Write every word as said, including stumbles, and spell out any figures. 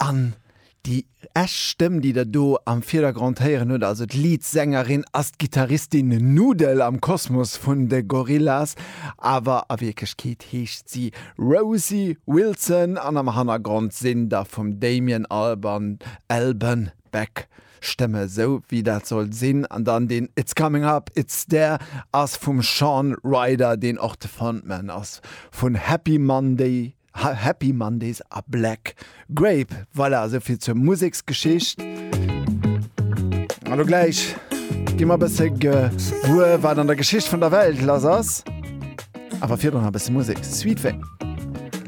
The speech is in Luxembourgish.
An déi echt Stëmm, déi der do am Virdergrond héieren hutt, also d'Lead-Sängerin, ass d'Gittaristin Nudel am Kosmos vun de Gorillaz. Awer a Wierklechkeet heescht si Rosie Wilson an am Hannergrond sinn da vum Damien Albarn, Albarn Back Stëmme, sou wéi dat sollt sinn. An dann deen It's Coming Up, It's There ass vum Shaun Ryder, deen och de Frontman ass vun Happy Monday, Happy Mondays a Black Grape. Voilà, esou vill zur Museksgeschicht. An elo gläich gi mer e bësse gewuer, wat an der Geschicht vun der Welt lass ass. Awer virdrun nach e bësse Musek. Sweet Thing.